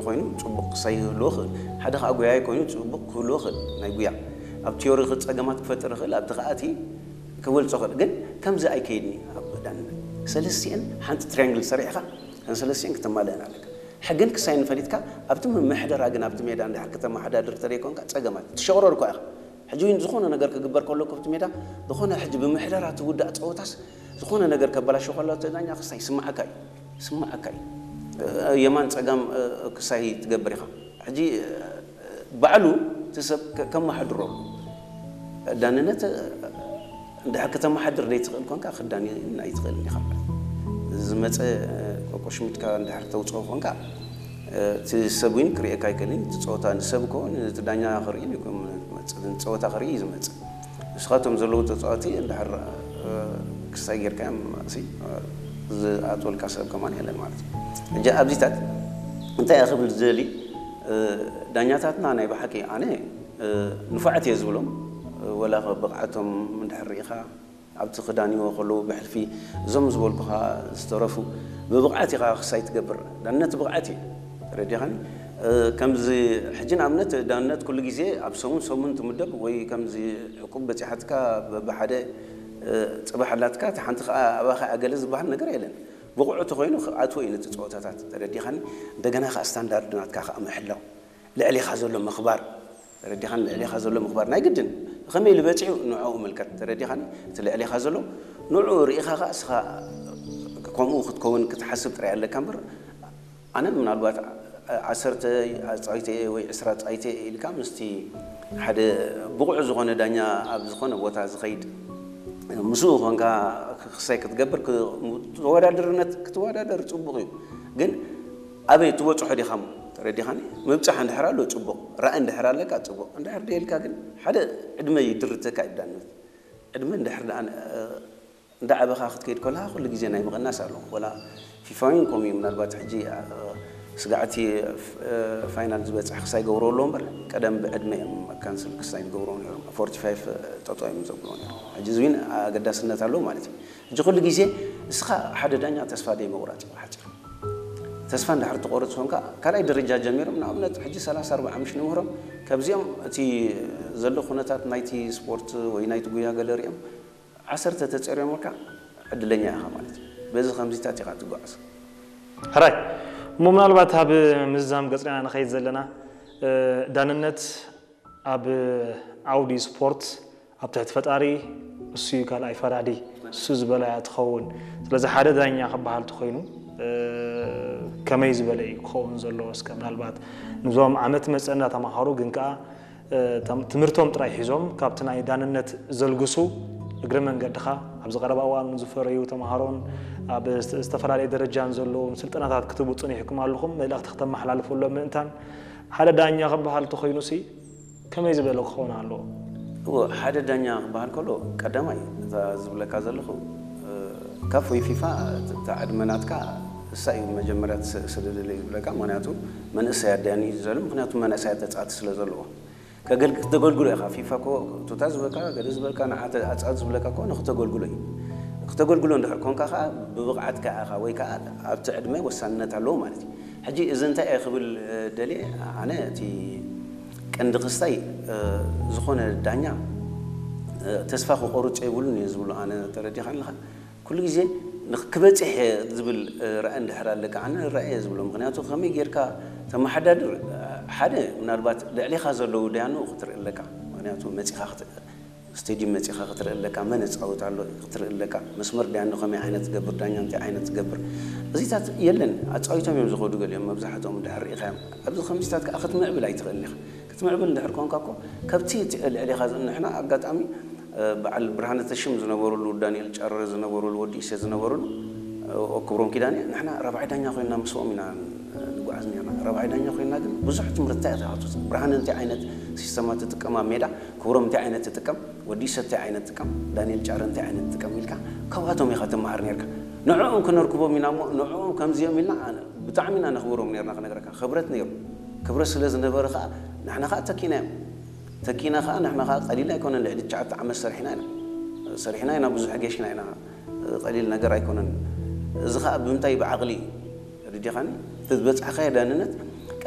ኮይኑ ጽቡቕ ክሳይ ይህልዎ ይኽእል። ሓደ ከዓ ጎያይ ኮይኑ ጽቡቕ ክህልዎ ይኽእል። ናይ ጉያ ኣብ ቲዮሪ ጸገማት ክፈጥር ይኽእል፣ ኣብቲ ከዓ እቲ ክበልጾ ይኽእል። ግን ከምዚ ኣይከይድን እዩ ኣብ ዳንነት። ሰለስቲአን ሓንቲ ትሪያንግል ሰሪሕኻ፣ እተን ሰለስቲአን ክተማልአን ኣለካ። ሕግን ክሳይን ፈሊጥካ ኣብቲ ምምሕደራ ግን ኣብቲ ሜዳ እንድሕር ከተመሓዳድር ተደይኮንካ ጸገማት ትሸቕረር እኳ ኢኻ። ሕጂ እውን ዝኾነ ነገር ክግበር ከሎ ኣብቲ ሜዳ ዝኾነ ሕጂ ብምሕደራ ትውዳእ ጸወታስ ዝኾነ ነገር ከበላሾ ከሎ እቲ ዳኛ ክሳይ ይስምዓካ እዩ። ይስምዓካ እዩ። የማን ጸጋም ክሳይ ትገብር ኢኻ። ሕጂ ባዕሉ እቲ ሰብ ከመሓድሮ ዳንነት እንድሕር ከተመሓድር ዘይትኽእል ኮንካ ክዳኒ ኣይትኽእልን ኢኻ። ዝመፀ ቆቆሽሚትካ እንድሕር ተውፅኦ ኮንካ እቲ ሰብ እውን ክርእየካ ኣይክእልን። እቲ ፀወታ ንሰብ ኮ ነቲ ዳኛ ክርኢ ፀወታ ክርኢ እዩ ዝመፅእ። ንስኻቶም ዘለዉ ተፃወቲ እንድሕር ክሳይ ጌርካዮም ዝኣትወልካ ሰብ ከማን የለን ማለት እዩ። ሕጂ ኣብዚታት እንታይ እየ ክብል ዝደሊ፣ ዳኛታትና ናይ ብሓቂ ኣነ ንፉዓት እየ ዝብሎም። ወላ ብቕዓቶም እንድሕር ርኢኻ ኣብቲ ክዳንዎ ከለዉ ብሕልፊ እዞም ዝበልኩኻ ዝተረፉ ብብቕዓት ኢኻ ክሳይ ትገብር። ዳንነት ብቕዓት እዩ። ተረዲኻኒ? ከምዚ ሕጂ ንኣብነት ዳንነት ኩሉ ግዜ ኣብ ሰሙን ሰሙን ትምደብ ወይ ከምዚ ዕቁብ በፂሓትካ ብሓደ ፅባሕ ኣላትካ እታ ሓንቲ ከዓ ኣባኻ ኣገለ ዝበሃል ነገር የለን። ብቑዕ ተኮይኑ ክኣትዎ እዩ ነቲ ፀወታታት። ተረዲኻኒ? እንደገና ከዓ ስታንዳርድ ናትካ ከዓ ምሕላው፣ ልዕሊኻ ዘሎ ምኽባር። ተረዲኻኒ? ልዕሊኻ ዘሎ ምኽባር ናይ ግድን ከመይ ኢሉ በፂሑ ንዕኡ ምልከት። ተረዲኻኒ? እቲ ልዕሊኻ ዘሎ ንዕኡ ርኢኻ ከዓ እስኻ ከምኡ ክትከውን ክትሓስብ ጥራይ ኣለካ እምበር ኣነ ምናልባት ዓሰርተ ኣፃዊተ ወይ ዕስራ ኣፃዊተ ኢልካ ምስቲ ሓደ ብቑዕ ዝኾነ ዳኛ ኣብ ዝኾነ ቦታ ዝኸይድ ምስኡ ኮንካ ክሳይ ክትገብር ተወዳደርነት ክትወዳደር ፅቡቕ እዩ። ግን ኣበይ ትበፅሖ ዲኻሞ? ተረዲኻኒ? ምብፃሕ እንድሕር ኣሎ ፅቡቕ፣ ራእይ እንድሕር ኣለካ ፅቡቕ፣ እንድሕር ደይልካ ግን ሓደ ዕድመ ይድርተካ እዩ ዳንነት። ዕድመ እንድሕር ደኣ እንዳዓበኻ ክትከይድ ከለኻ ኩሉ ግዜ ናይ ምቕናስ ኣሎ። ወላ ፊፋ እውን ከምኡ እዩ። ምናልባት ሕጂ ስጋዕቲ ፋይናል ዝበፅሕ ክሳይ ገብሮ ኣለዎ እምበር ቀደም ብዕድመ እዮም ካንስል ክሳይ ዝገብርዎ ነይሮም። ፎርቲ ፋይቭ ጠጠው እዮም ዘብልዎ ነይሮም። ሕጂ እዚ እውን ኣገዳስነት ኣለዎ ማለት እዩ። ሕጂ ኩሉ ግዜ እስኻ ሓደ ዳኛ ተስፋ ደይ ምቑራፅ እዩ ብሓፂሩ። ተስፋ እንድሕር ትቆርፅ ኮንካ ካልኣይ ደረጃ ጀሚሮም ንኣብነት ሕጂ ሰላሳ ኣርባዓ ምሽ ንምህሮም ካብዚኦም እቲ ዘሎ ኩነታት ናይቲ ስፖርት ወይ ናይቲ ጉያ ገለ ሪኦም ዓሰርተ ተፀርዮምልካ ዕድለኛ ኢኻ ማለት እዩ። በዚ ከምዚታት ኢኻ ትጓዓዝ። ሕራይ እሞ ምናልባት ኣብ ምዝዛም ገፅና ንኸይድ ዘለና ዳንነት ኣብ ዓውዲ ስፖርት ኣብ ትሕቲ ፈጣሪ እሱ እዩ ካልኣይ ፈራዲ እሱ ዝበለ እያ ትኸውን። ስለዚ ሓደ ዳኛ ክበሃል ተኮይኑ ከመይ ዝበለ እዩ ክኸውን ዘለዎ? እስከ ምናልባት ንዞም ዓመት መፀና ተማሃሩ ግን ከዓ ትምህርቶም ጥራይ ሒዞም ካብቲ ናይ ዳንነት ዘልግሱ እግረ መንገድኻ ኣብዚ ቀረባ እዋን ዝፈረዩ ተምሃሮን ኣብ ዝተፈላለየ ደረጃን ዘለዎም ስልጠናታት ክትህቡ ፅኒሕኩም ኣለኹም። መልእኽቲ ክተመሓላልፈሎም ምእንታን ሓደ ዳኛ ክበሃል ተኮይኑሲ ከመይ ዝበለ ክኸውን ኣለዎ? እዎ ሓደ ዳኛ ክበሃል ከሎ ቀዳማይ እታ ዝብለካ ዘለኹ ካፍ ወይ ፊፋ እታ ዕድመ ናትካ እሳ እዩ መጀመርያ ስደደለ እዩ ዝብለካ። ምክንያቱ መንእሰይ ኣዳኒ እዩ ዘሎ። ምክንያቱ መንእሰይ ተፃወቲ ስለ ዘለዎ ከገልግ- ክተገልግሎ ኢኻ። ፊፋ ኮ ቱታ ዝበልካ ገለ ዝበልካ ንዓ ኣፃወት ዝብለካ ኮ ንክተገልግሎ እዩ። ክተገልግሎ እንድሕር ኮንካ ከዓ ብብቕዓትካ ኢኻ ወይ ከዓ ኣብቲ ዕድመ ወሳንነት ኣለዎ ማለት እዩ። ሕጂ እዚ እንታይ እየ ክብል ደልየ ኣነ እቲ ቀንዲ ክስታይ ዝኾነ ዳኛ ተስፋ ክቆርፅ የብሉን እየ ዝብሎ ኣነ። ተረዲኻ ኣለኻ? ኩሉ ግዜ ክበፅሕ እየ ዝብል ራእይ እንድሕር ኣለካ ኣነ ራእይ እየ ዝብሎ። ምክንያቱ ከመይ ጌርካ ተመሓዳድር ሓደ ምናልባት ልዕሊኻ ዘለዉ ዳያኑ ክትርኢ ኣለካ። ምክንያቱ መፂኻ ስቴድዩም መፂኻ ክትርኢ ኣለካ፣ መን እፃወት ኣሎ ክትርኢ ኣለካ፣ መስመር ዳያኑ ከመይ ዓይነት ትገብር፣ ዳኛ እንታይ ዓይነት ትገብር፣ እዚታት የለን። ኣፃዊቶም እዮም ዝኸዱ ገሊኦም፣ መብዛሕትኦም እንድሕር ርኢኻዮም። ኣብዚ ከምዚታት ከዓ ክትምዕብል ኣይትኽእልን ኢኻ። ክትምዕብል እንድሕር ኮንካ እኮ ከብቲ ልዕሊኻ ንሕና ኣጋጣሚ በዓል ብርሃነ ተሽም ዝነበሩሉ፣ ዳንኤል ጫረ ዝነበሩሉ፣ ወዲ ኢሰ ዝነበሩሉ፣ ክብሮም ኪዳነ ንሕና ራብዓይ ዳኛ ኮይንና ምስኦም ኢና ንጓዓዝ ነርና። ራብዓይ ዳኛ ኮይንና ግን ብዙሕ ትምህርትታ ኢኻ ትወስድ። ብርሃነ እንታይ ዓይነት ሲስተማት ትጥቀም ኣብ ሜዳ፣ ክብሮም እንታይ ዓይነት ትጥቀም፣ ወዲ ኢሰ እንታይ ዓይነት ጥቀም፣ ዳንኤል ጫረ እንታይ ዓይነት ጥቀም ኢልካ ካብኣቶም ኢኻ ትመሃር ነርካ። ንዕኦም ክነርክቦም ኢና እሞ ንዕኦም ከምዚኦም ኢልና ብጣዕሚ ኢና ነኽብሮም ነርና ክነግረካ። ክብረት ነይሩ። ክብረት ስለ ዝነበረ ከዓ ንሕና ከዓ ተኪናዮም። ተኪና ከዓ ንሕና ከዓ ቀሊል ኣይኮነን፣ ልዕሊ ትሽዓተ ዓመት ሰሪሕና ኢና። ሰሪሕና ኢና፣ ብዙሕ ጌሽና ኢና። ቀሊል ነገር ኣይኮነን። እዚ ከዓ ብምንታይ ብዓቕሊ እዩ። ተረዲኻኒ? እቲ ዝበፅሕካዮ ዳንነት